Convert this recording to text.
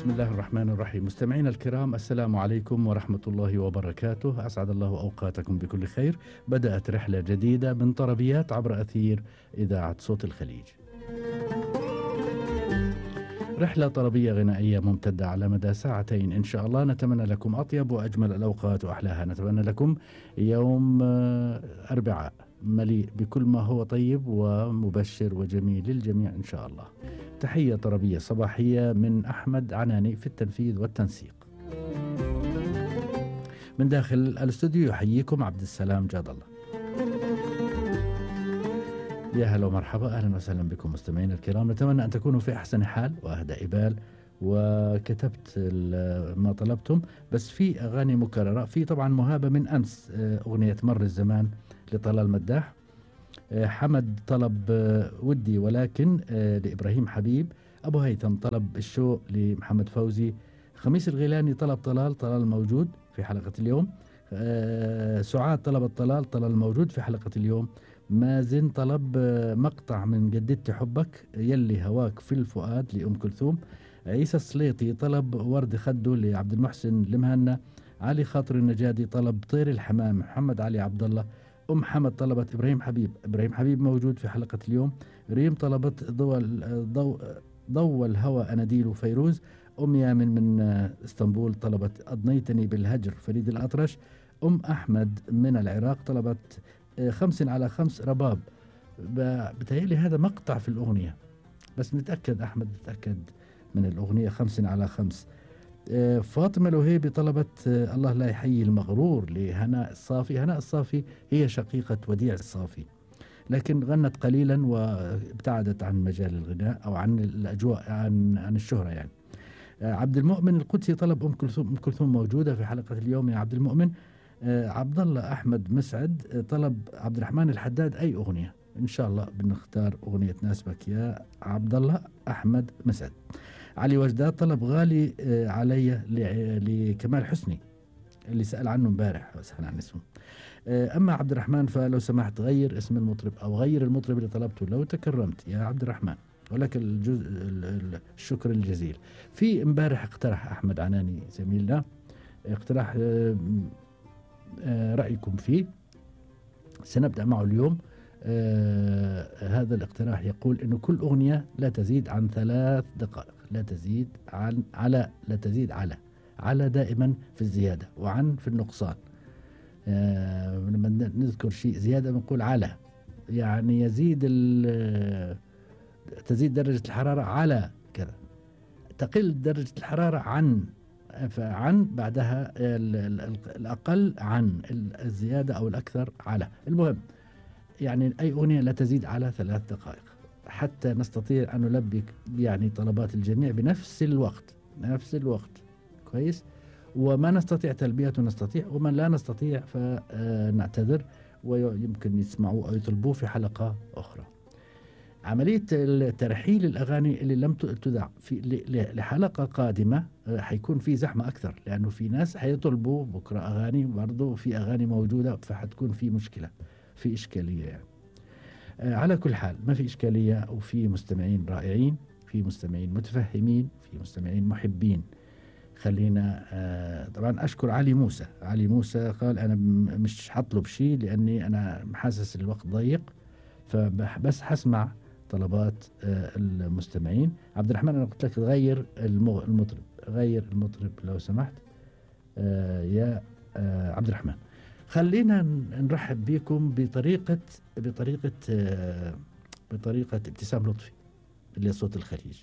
بسم الله الرحمن الرحيم. مستمعينا الكرام، السلام عليكم ورحمة الله وبركاته. أسعد الله أوقاتكم بكل خير. بدأت رحلة جديدة من طربيات عبر أثير إذاعة صوت الخليج. رحلة طربية غنائية ممتدة على مدى ساعتين إن شاء الله. نتمنى لكم أطيب وأجمل الأوقات وأحلاها. نتمنى لكم يوم أربعاء مليء بكل ما هو طيب ومبشر وجميل للجميع إن شاء الله. تحية طربية صباحية من أحمد عناني في التنفيذ والتنسيق. من داخل الاستوديو يحييكم عبد السلام جاد الله. يا هلا ومرحبا، أهلا وسهلا بكم مستمعين الكرام. نتمنى أن تكونوا في أحسن حال وأهدى بال، وكتبت ما طلبتم. بس في أغاني مكررة، في طبعا مهابة من أمس أغنية مر الزمان لطلال مداح. حمد طلب ودي ولكن لإبراهيم حبيب. أبو هيثم طلب الشوق لمحمد فوزي. خميس الغيلاني طلب طلال موجود في حلقة اليوم. سعاد طلبت طلال موجود في حلقة اليوم. مازن طلب مقطع من جددت حبك يلي هواك في الفؤاد لأم كلثوم. عيسى السليطي طلب ورد خده لعبد المحسن المهنا. علي خاطر النجادي طلب طير الحمام محمد علي عبد الله. أم حمد طلبت إبراهيم حبيب موجود في حلقة اليوم. ريم طلبت ضوء الهوى أناديل فيروز. أم يامن من اسطنبول طلبت أضنيتني بالهجر فريد الأطرش. أم أحمد من العراق طلبت 5 على 5 رباب. بتهيألي هذا مقطع في الأغنية، بس نتأكد أحمد نتأكد من الأغنية 5 على 5. فاطمة الوهيبي طلبت الله لا يحيي المغرور لهناء الصافي. هناء الصافي هي شقيقة وديع الصافي، لكن غنت قليلا وابتعدت عن مجال الغناء أو عن الأجواء عن الشهرة يعني. عبد المؤمن القدسي طلب أم كلثوم موجودة في حلقة اليوم يا عبد المؤمن. عبد الله أحمد مسعد طلب عبد الرحمن الحداد أي أغنية. إن شاء الله بنختار أغنية تناسبك يا عبد الله أحمد مسعد. علي وجداد طلب غالي علي لكمال حسني اللي سأل عنه امبارح وسأل عن اسمه. أما عبد الرحمن فلو سمحت غير اسم المطرب أو غير المطرب اللي طلبته لو تكرمت يا عبد الرحمن، ولك الشكر الجزيل. في امبارح اقترح أحمد عناني زميلنا اقتراح رأيكم فيه، سنبدأ معه اليوم. هذا الاقتراح يقول إنه كل أغنية لا تزيد عن 3 دقائق، لا تزيد عن لا تزيد على دائما في الزيادة وعن في النقصان. لما نذكر شيء زيادة بنقول على، يعني تزيد درجة الحرارة على كذا، تقل درجة الحرارة عن بعدها الأقل عن الزيادة أو الأكثر على. المهم يعني أي أغنية لا تزيد على 3 دقائق حتى نستطيع أن نلبي يعني طلبات الجميع بنفس الوقت. كويس. وما نستطيع تلبيته نستطيع، ومن لا نستطيع فنعتذر ويمكن يسمعوا أو يطلبوه في حلقة أخرى. عملية ترحيل الأغاني اللي لم تذاع لحلقة قادمة حيكون في زحمة أكثر، لأنه في ناس حيطلبوا بكرة أغاني برضو في أغاني موجودة، فحتكون في مشكلة، في إشكالية يعني. على كل حال ما في إشكالية، وفي مستمعين رائعين، في مستمعين متفهمين، في مستمعين محبين. خلينا طبعا أشكر علي موسى قال أنا مش حطلب شيء لأني أنا حاسس الوقت ضيق، فبس حسمع طلبات المستمعين. عبد الرحمن أنا قلت لك غير المطرب لو سمحت يا عبد الرحمن. خلينا نرحب بكم بطريقة ابتسام لطفي اللي صوت الخليج.